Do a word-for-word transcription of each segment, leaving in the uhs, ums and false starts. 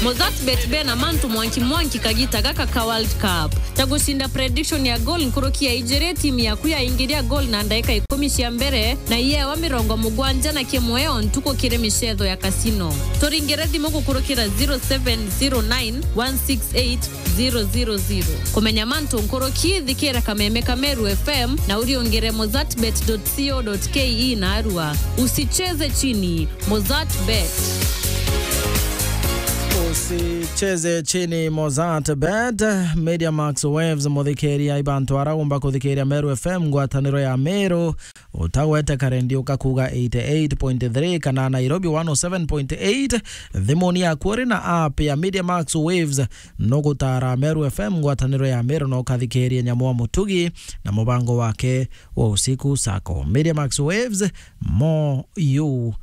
Mozart Bet bena mantu mwanki mwanki kagita gaka ka World Cup. Ta gucinda prediction ya goal nkuruki ya ijiri, timu yaku yaingiria goal na ndaika ikumi cia mbere, na iyewa mirongo mugwanja na kimwe o ntuku kiri micetho ya casino. Turingire thimu gukurukira zero seven zero nine one six eight zero zero zero. Kumenya mantu nkuruki, thikira kameme ka Meru F M na uriungire mozartbet dot co dot K E na arua. Usicheze chini, Mozart Bet. Usicheze chini, Mozart Bet. Media Max Waves, muthikiria, ibantu ara umba kuthikiria Meru F M, ngwataniro ya Meru. Utagwete karendi ukakuga eighty eight point three kana Nairobi one oh seven point eight. Thimuni yaku uri na app ya Media Max Waves, nugutara Meru F M, ngwataniro ya Meru, na ukathikiria Nyamu wa Mutugi na mubango wake wa usiku sako. Media Max Waves, more you,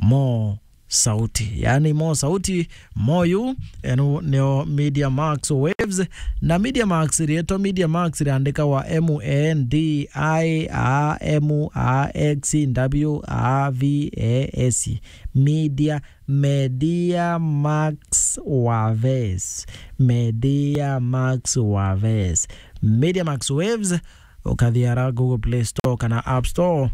more sauti. Yani more sauti, more you. Eno nio Media Max Waves. Na Media Max, rietwa Media Max riandikagwa M A N D I A M A X W A V A S. Media, Media Max Waves. Media Max Waves. Media Max Waves, ukathi ara Google Play Store kana App Store,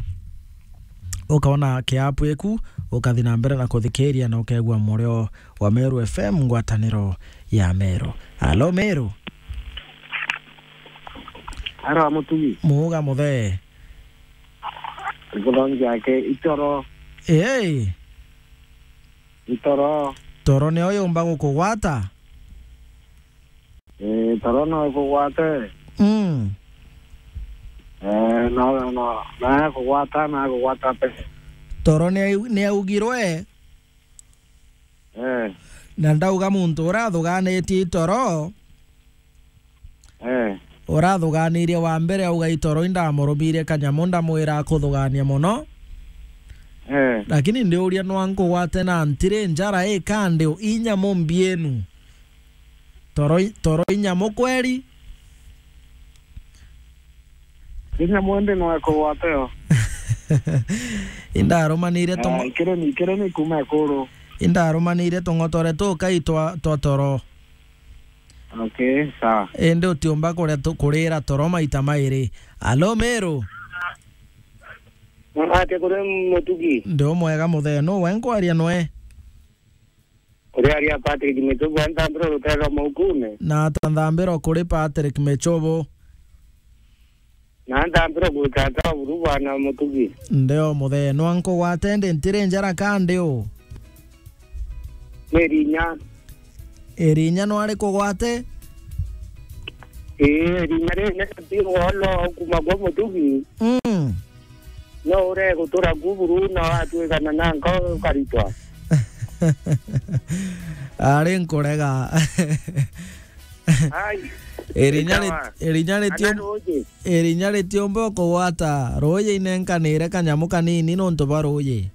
ukaona kiapu eku, ukathi na mbere na kuthikiria na ukegua murio wa Meru F M, ngwataniro ya Meru. Alo, Meru. Ara Mutugi. Muuga muthee. Nguthangi yake itoro. Hey. Itoro. Toro nio yumba gukugwata? Eh, toro no ikugwate. Mm. Eh, no, no, no, na kugwata, na kugwata pe. Toro ni au-, ni augirwe? Eh. Na ndauga muntu urathuganitie itoro. Eh. Urathuganirie wa mbere auga itoro indamurumire kanyamu ndamwira akuthugania muno. Eh. Lakini ndiuria nwa nkugwate na ntiri njara ikandi inyamu mbienu. Toro i-, toro inyamu kweri? Inyamu indi no ikugwate yo. Indarumanire tung'o- Ah, ikiri ni, ikiri ni kuma ikuru. Indarumanire tung'otore tukai twa, twa toro. Okay, sawa. Indi utiumba kuria tu-, kurira toro maita mairi. Alo, Meru? Ate kuri Mutugi? Ndi umwega muthee, nu we nkwaria nwe? Uriaria Patrick Michobo, ntambiro rutero maukune. Na ata nthambiro kuri Patrick Michobo? Na ntambiro gwikata buru bwana Mutugi. Ndeo muthee, nwa nkugwate ndi ntiri njara kandi u? Ni Rinya. Irinya nwari kugwate? Ii, Rinya ri ne ti wolo kuma gwa Mutugi. Mm. No ure gutura ku buru na watwikana na nko ukaritwa. Ari nkurega. Ai. Irinya ri-, ikawa. Irinya ritio-, ana ruuji. Irinya ritiumba kugwata ruuji inenkanire kanyamu kanini nontu bwa ruuji.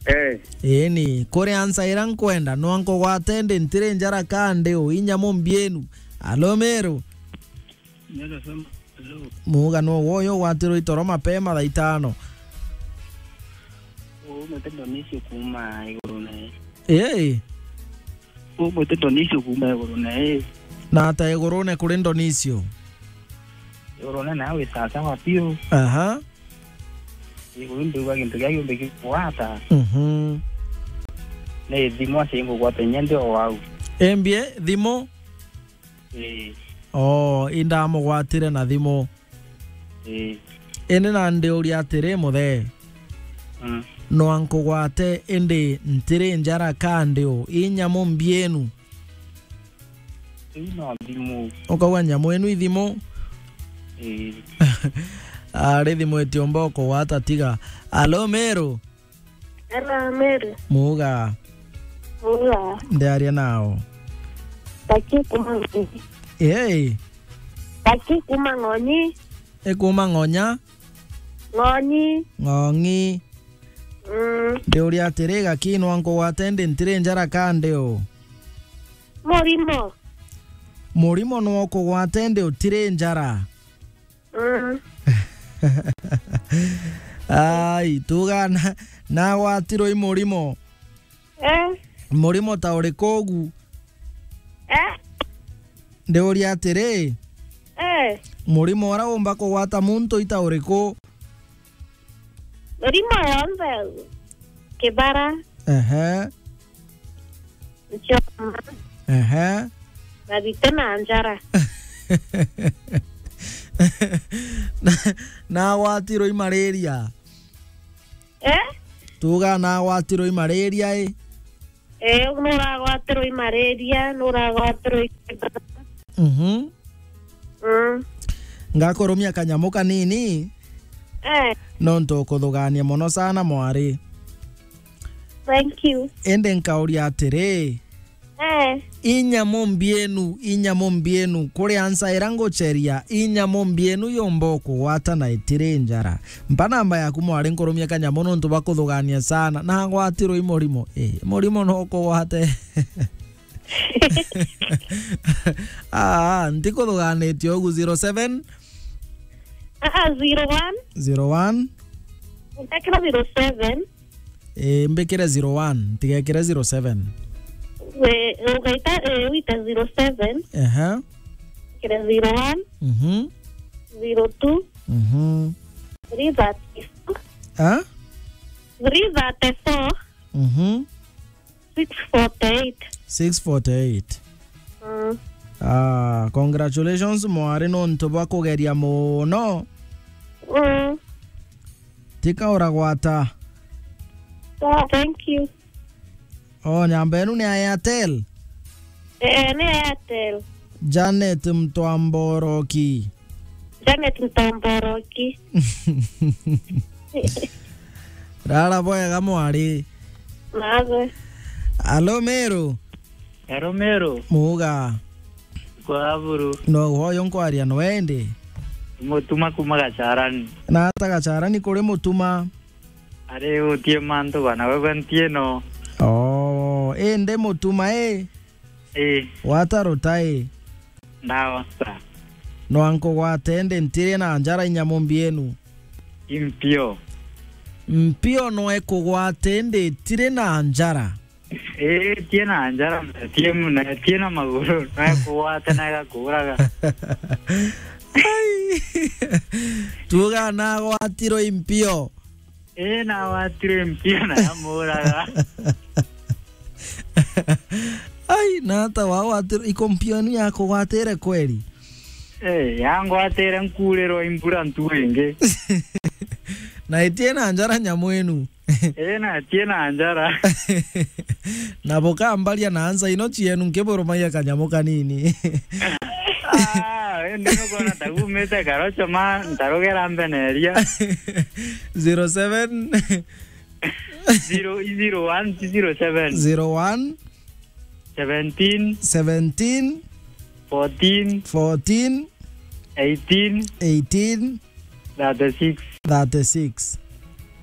Eh. Ii ni, kuri ansa ira nkwenda, nwa nkugwate ndi ntiri njara kandi u inyamu mbienu. Alo, Meru? Hello. Muuga nu woyo ugwatirwe itoro mapema thaa itano? Umwite Ndonisio kuma iguru na ii. Ii. Umwite Ndonisio kuma iguru na ii. Na ata igurune kuri Ndonisio? Igurune na wi sawa sawa piu. Aha. Iguru ndiuga gintu gia giumbe gikugwata. Mhm. Ni thimu acio ingugwata inya ndi o wau. Embie thimu? Ii. Oo, indamugwatire na thimu. Ii. Indi na ndiuria atiri, muthee. Mm. Nwa nkugwate indi ntiri njara kandi u inyamu mbienu? Iu no thimu. Ukauga nyamu inu ithimu? Ii. Ari thimu itiumba ukugwata tiga. Alo, Meru? Hello, Meru. Muuga. Muuga. Ndiaria nao. Taki kuma Ng'onyi. Hey. Taki kuma Ng'onyi. Ikuma Ng'onya? Ng'onyi. Ng'ong'i. Mm. Ndiuria atiri, gaki nwa nkugwate ndi ntiri njara kandi u? Murimo. Murimo nwa ukugwate ndi utiri njara? Mm. Ai, tuga na, nagwatirwe i murimo. Eh? Murimo ta uriku ugu? Eh? Ndiuria atiri, eh, murimo uria umba kugwata muntu ita uriku? Mirimo yonthe, kibara, ehe, nchoma, ehe, na thite na njara. Na, nagwatirwe i malaria? Eh? Tuga nagwatirwe i malaria i? Eh, nuragwatirwe i malaria, nuragwatirwe i kibara. Mhm. Mm. Ngakurumia kanyamu kanini. Eh. Nontu ukuthugania mono sana mwari. Thank you. Indi nkauria atiri, eh, i nyamu mbienu, i nyamu mbienu, kuri ansa ira ngucheria, i nyamu mbienu yumba ukugwata na itiri njara? Mpa namba yaku mwari nkurumia kanyamu nontu bwa kuthugania sana. Na ngwatirwe i murimo. Eh, murimo no ukugwate. Ah, ntikuthuganitie ugu. Zero seven? Ah, ah, zero one. Zero one? Utekira zero seven. Eh, mbikire zero one, ntigekire zero seven. We, ugaita, eh, wita zero seven. Ehe. Kire zero one. Mhm. Zero two. Mhm. Three thirty-four. Ah? Three thirty-four. Mhm. Six forty-eight. Six forty-eight. Mm. Ah, congratulations mwari nontu bwa kugeria muno. Mm. Tika uragwata. Oh, thank you. Oh, nyamba enu ni ya Airtel? Eh, ni Airtel. Janet Mtwamboroki. Janet Mtwamboroki. Rara bwega mwari. Nawe. Alo Meru. Alo Meru. Muga. Kwa buru. No woyo nkwaria no ende. Mutuma kuma Gacharani. Na ata Gacharani kuri Mutuma? Ari utie mantu bana wewe ntieno. Oh, ende Mutuma e. Eh. Wata ruta e. Ndawa sa. No ankugwate ndi ntiri na njara inyamu mbienu. Impio. Mpio no ekugwate ndi tiri na njara. Eh, tie na njara, tie muna, tie na maguru, no ekugwate na egakuraga. Ai. Tuga na gwatiro impio. Ii, na watire mpio na yamuraga. Ai, na ata wa watire, iko mpio ni yakugwatire kweli? Eh, yangwatire nkurirwa imbura ntu ingi. Na itie na njara nyamu inu. Ii, na itie na njara. Na bukambaria na ansa ino cienu nkiburumagia kanyamu kanini. Ah, indi nukwona ta gumite karocho ma ntarugera mbeneria. Zero seven. Zero, zero one, zero seven. Zero one. Seventeen. Seventeen. Fourteen. Fourteen. Eighteen. Eighteen. Thirty-six. Thirty-six.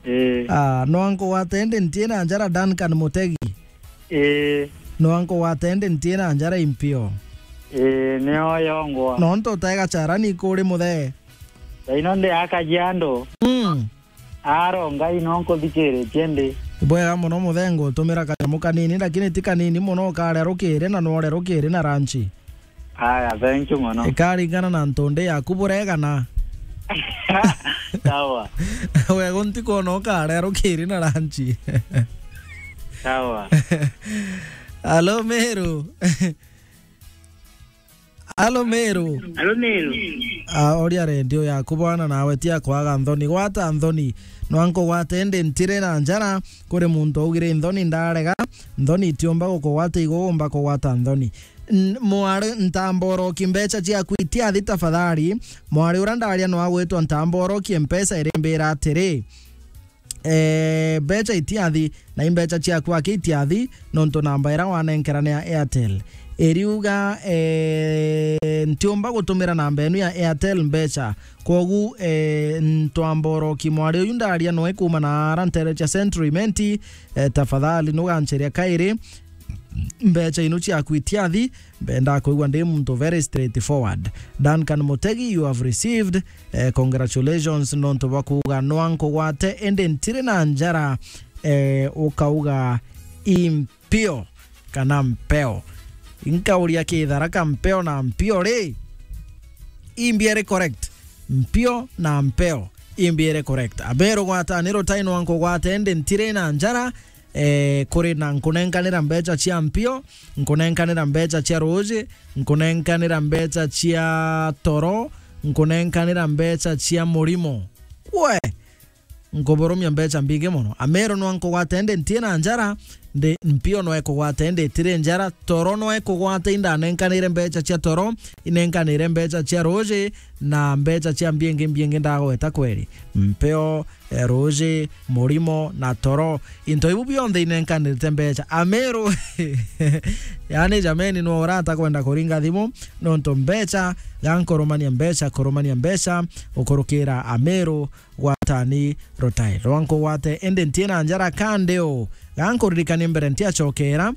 Eh. Ah, no ankugwate ndi ntie na njara Duncan Mutegi. Eh. No ankugwate ndi ntie na njara impio. Eh, nio yongwa. No nto taega charani kuri muthe. Thaino ndi akajiando. Mm. Aro, Ngai no nkuthikiritie ndi. Bwega muno muthe, ngutumira kanyamu kanini, lakini ti kanini muno, ukaria rukiri na nwore rukiri na ranchi. Aya, thank you muno. Ikaringana na ntundi yaku buregana. Sawa. Wego ntikwona ukaria rukiri na ranchi. Sawa. Alo, Meru. Alo, Meru. Alo, Meru. Ah, oria redio yaku bwana, nawe ti akwaga nthoni. Gwata nthoni. No ankugwate ndi ntire na njara, kuri muntu augire nthoni ndarega, nthoni itiumba gukugwata, igumba kugwata nthoni. N-, mwari ntamboroki mbecha ciaku itiathi tafadhali. Mwari uria ndaria no agwitwa ntamboroki mpesa irimbira atiri, eh, mbecha itiathi, na imbecha ciaku aki itiathi, nontu namba ira wanenkera ni ya Airtel. Iriuga, eh, ntiumba gutumira namba enu ya Airtel mbecha. Kwogu, eh, ntwamboroki mwari uyu ndaria noe kuuma na ara ntere cia Central Imenti, eh, tafadhali nugancheria kairi. Mbecha inu ciaku itiathi, mbenda kwigua ndi muntu very straightforward. Duncan Mutegi, you have received, eh, congratulations, nontu bwa kuuga nwa nkugwate, indi ntiri na njara, eh, ukauga impio. kana mpeo? Inkauria kitharaka, mpeo na mpio ri? Imbi iri correct? Mpio na mpeo, imbi iri correct? Ameru gwataniro tai nwa nkugwate indi ntiri na njara, eh, kuri na nkunenkanira mbecha cia mpio, nkunenkanira mbecha cia ruuji, nkunenkanira mbecha cia toro, nkunenkanira mbecha cia murimo. Kwe, nkuburumia mbecha mbingi mono. Ameru nwa nkugwate indi ntie na njara, ndi mpio nwa ikugwate indi itiri njara, toro nwa ikugwate indanenkanire mbecha cia toro, inenkanire mbecha cia ruuji, na mbecha cia mbingi mbingi ndagweta kweri. Mpio, eh, ruuji, murimo na toro. Into ibu bionthe inenkanirite mbecha. Ameru. Yani, jameni, nwa urata kwenda kuringa thimu, nontu mbecha, gankurumania mbecha, kurumania mbecha, ukurukira Ameru, gwatani rutai rwa nkugwate, indi ntie na njara kandi u. Gankuririkanie mbere ntiacokera,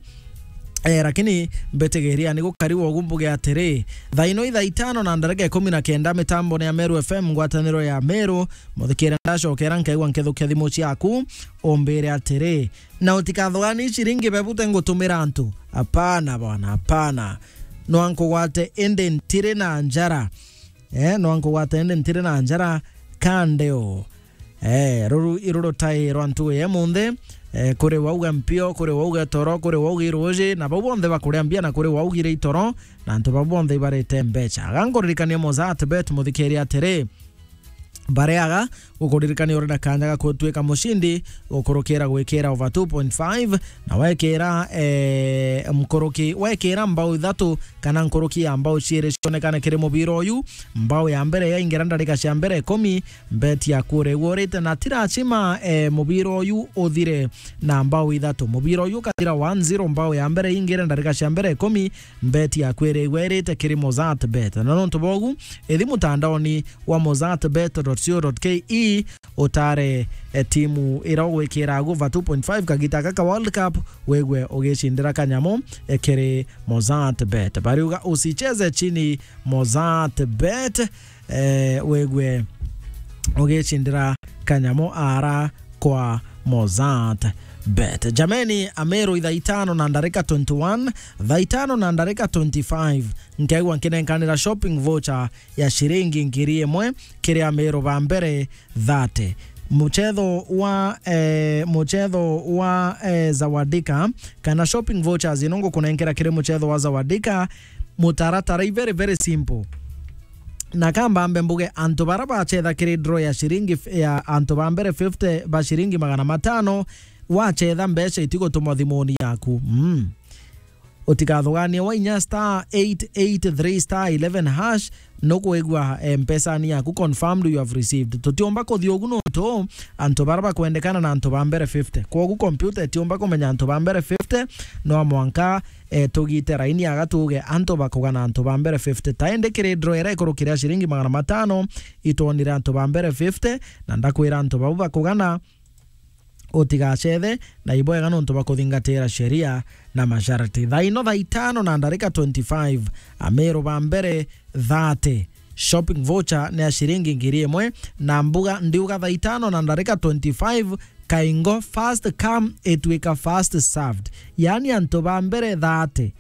eh, lakini mbitigiria ni gukari wogu mbuge atiri, thaino ithaa itano na ndarika ikumi na kenda mitambone ya Meru F M, ngwataniro ya Meru, muthikire ndacokera nkaigua nkithukia thimu ciaku, umbire atiri, na utikathugani ciringi bebute ngutumira antu. Hapana bwana, hapana. Nwa nkugwate indi ntiri na njara. Eh, nwa nkugwate indi ntiri na njara kandi u. Eh, ruru iru rutai rwa ntugu ya munthi, eh, kuri wauga mpio, kuri wauga toro, kuri wauga iruuji, na bau bonthe bakuria mbia na kuri waugire itoro, na antu bau bonthe ibarite mbecha. Gankuririkania Mozart Bet, muthikiri atiri, bareaga, gukuririkania uri na kanya ga gutwika mucindi, gukurukira gwikira over two point five, na wekira, eh, nkuruki, wekira mbao ithatu kana nkuruki ya mbao ciiri cionekane kiri mubira uyu. Mbao ya mbere yaingira ndarika cia mbere ikumi, bet yaku uri igurite na ti lazima, eh, mubira uyu uthire na mbao ithatu. Mubira uyu ukathira one zero, mbao ya mbere ingire ndarika cia mbere ikumi, bet yaku iri igwirite kiri Mozart Bet. Na nontu bogu, ithi mutandaoni wa mozart bet dot co dot ke, utare, eh, timu ira ugwikira guva two point five kagita gaka World Cup, wigwe ugicindira kanyamu, eh, kiri Mozart Bet. Bariuga usicheze chini Mozart Bet, eh, wigwe ugicindira kanyamu ara kwa Mozart Bet. Jameni, Ameru ithaa itano na ndarika twenty-one, thaa itano na ndarika twenty-five, nkeigua nkinenkanira shopping voucher ya ciringi ngiri imwe kiri Ameru ba mbere thirty. Muchetho wa, eh, muchetho wa, eh, Zawadika, kana shopping vouchers ino ngukunenkera kiri muchetho wa Zawadika, mutaratara i very, very simple. Na kamba mbe mbuge, antu bara bachetha kiri draw ya ciringi f-, ya antu ba mbere fifty ba ciringi magana matano, wachetha mbeca itigutumwa thimuni yaku. Mm. Utikathuganie, wainya star eight eight three star eleven hash, nukwigua, eh, mpesani yaku confirmed you have received. Tutiumba kuthia ugu nontu antu bara bakwendekana na antu ba mbere fifty. Kwogu computer itiumba kumenya antu ba mbere fifty, no mwanka, eh, tugite raini aga tuge antu bakugana antu ba mbere fifty. Ta indi kiri draw ira ikurukire ya ciringi magana matano, itwonire antu ba mbere fifty, na ndakwira antu bau bakugana, utigacethe na ibwega nontu bwa kuthingatira sheria na masharti. Thaa ino thaa itano na ndarika twenty-five, Ameru ba mbere thirty. Shopping voucher ni ya ciringi ngiri imwe, na mbuga ndiuga thaa itano na ndarika twenty-five, kaingo first come itwika first served. Yaani antu ba mbere thirty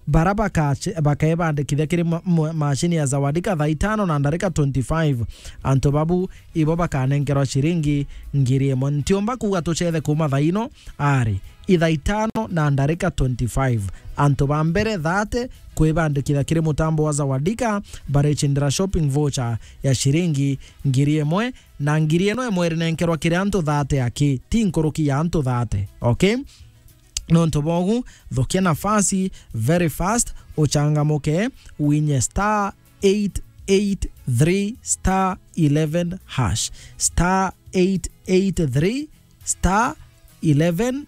bara bakache-, bakebandikithia kiri ma-, ma-, machine ya Zawadika thaa itano na ndarika twenty-five, antu babu ibo bakanenkerwa ciringi ngiri imwe. Ntiumba kuuga tucethe kuuma thaa ino, ari, ithaa itano na ndarika twenty-five, antu ba mbere thirty kwibandikithia kiri mutambo wa Zawadika baricindira shopping voucher ya ciringi ngiri imwe, na ngiri ino imwe irinenkerwa kiri antu thirty aki, ti nkuruki ya antu thirty, okay? Nontu bogu, thukia nafasi very fast, uchangamuke, winye star eight eight three star eleven hash. Star eight eight three star eleven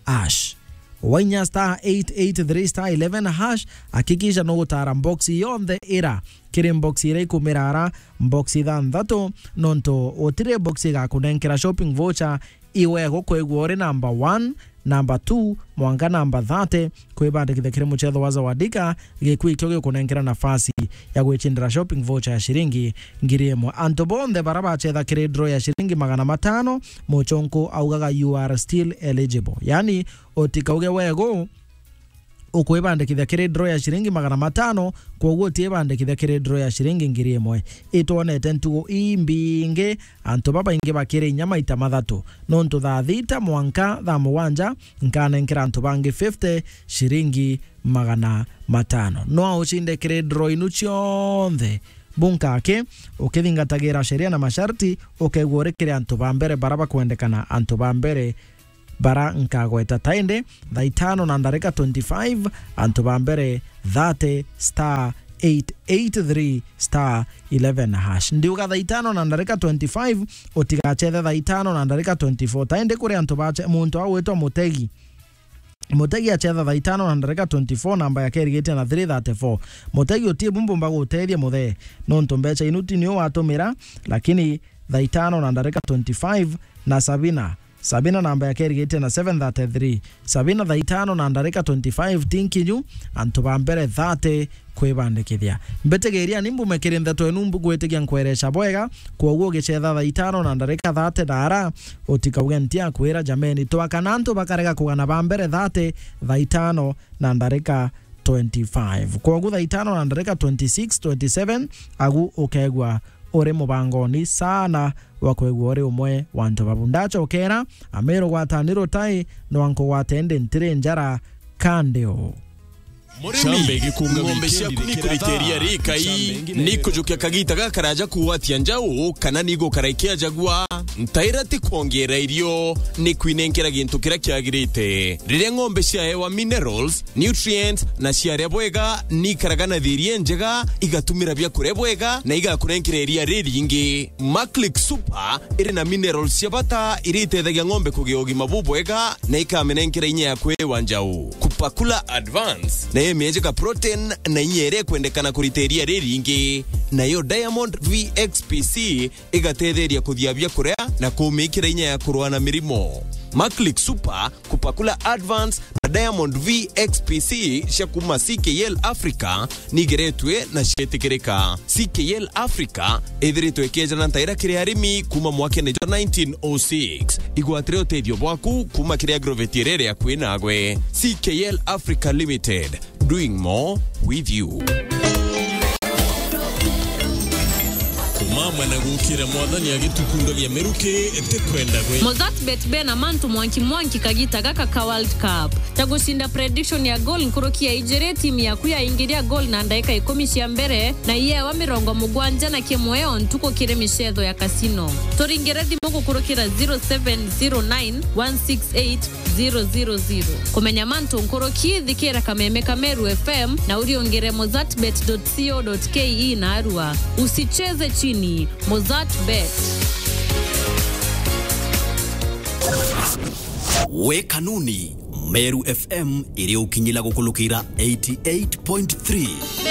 hash. Wainya star eight eight three star eleven hash, hakikisha nugutara box yonthe ira kiri box ira ikumirara, box ithanthatu, nontu utiri box igakunenkera shopping voucher, iwe gukwigua uri number one, number two, mwanka number thirty, kwibandikithia kiri muchetho wa Zawadika, gikui kio gikunenkera nafasi ya gwicindira shopping voucher ya ciringi ngiri imwe. Antu bonthe bara bachetha kiri draw ya ciringi magana matano, muchonko augaga, "You are still eligible." Yani, utikauge wegu, ukwibandikithia kiri draw ya ciringi magana matano, kwoguo utiibandikithia kiri draw ya ciringi ngiri imwe. Itwonete ntugu imbingi, antu babaingi bakiri inya maita mathatu. Nontu thaa thita mwanka thaa mugwanja, nkanenkera antu bangi fifty ciringi magana matano. No aucinde kiri draw inu cionthe bunkaki, ukithingatagira sheria na masharti, ukegua uri kiri antu ba mbere bara bakwendekana, antu ba mbere bara nkagweta taindi, thaa itano na ndarika twenty-five, antu ba mbere thirty star eight eight three star eleven hash. Ndiuga thaa itano na ndarika twenty-five, utigachethe thaa itano na ndarika twenty-four. Taindi kuri antu bache, muntu agwitwa Mutegi. Mutegi achetha thaa itano na ndarika twenty-four, namba yake irigitie na three thirty-four. Mutegi utie bumbu mba gutethia muthee, nontu mbecha inu ti niu watumira, lakini thaa itano na ndarika twenty-five na Sabina. Sabina namba yake irigitie na seven thirty-three. Sabina thaa itano na ndarika twenty-five ti nkinyu, antu ba mbere thirty kwibandikithia. Mbitigiria ni mbume kiri ntheto inu mbugwitigia nkwereca bwega, kwoguo ugichetha thaa itano na ndarika thirty dara, utikauge ntiakwira jameni. Twakana antu bakarega kugana ba mbere thirty thaa itano na ndarika twenty-five. Kwoguo thaa itano na ndarika twenty-six, twenty-seven, agu ukegua uri mubangoni sana wa kwigua uri umwe wa antu babu. Ndachokera, Amiru gwatani rutai, no ankugwate ndi ntiri njara kandeo. Murimi, ng'ombe ciaku ni kurita iria rikai, ni kujukia kagita gakaraja kugwatia njau, kana ni gukara ikiajagua? Ntaira ti kwongerera irio, ni kwinenkera gintu kiria kiagirite. Riria ng'ombe ciaewa minerals, nutrients, na ciaria bwega, ni ikaraga na thiiri injega, igatumira biakuria bwega, na igakurenkera iria riringi. Maclick Super iri na minerals cia bata iria itethagia ng'ombe kugia ugima bubwega na ikamenenkera inya ya kwiwa njau. Kupakula Advance nayo imiejeka protein na inya iria ikwendekana kurita iria riringi. Nayo Diamond V X P C igatetheria kuthia biakuria na kumikira inya ya kurua na mirimo. Maclick Super, Kupakula Advance na Diamond V X P C cia kuma C K L Africa nigeretwe na cietikirika. C K L Africa ithiritwe ikejana ntaira kiri arimi kuma mwakene jwa nineteen oh six. Igwatire utethio bwaku kuma kiri agrovet iria iri akui nagwe. C K L Africa Limited, doing more with you. Kumamwe na gukira Mwathani agitukundagia miruki ti kwenda gwe. Mozart Bet bena mantu mwanki mwanki kagita gaka ka World Cup. Ta gucinda prediction ya goal nkuruki ya ijiri, timu yaku yaingiria goal na ndaika ikumi cia mbere, na iyewa mirongo mugwanja na kimwe o ntuku kiri micetho ya casino. Turingire thimu gukurukira zero seven zero nine one six eight zero zero zero. Kumenya mantu nkuruki, thikira kameme ka Meru F M na uriungire mozartbet dot co dot K E na arua. Usicheze chini. Mozart Bet. We kanuni, Meru F M iri ukinyila gukulukira eighty eight point three.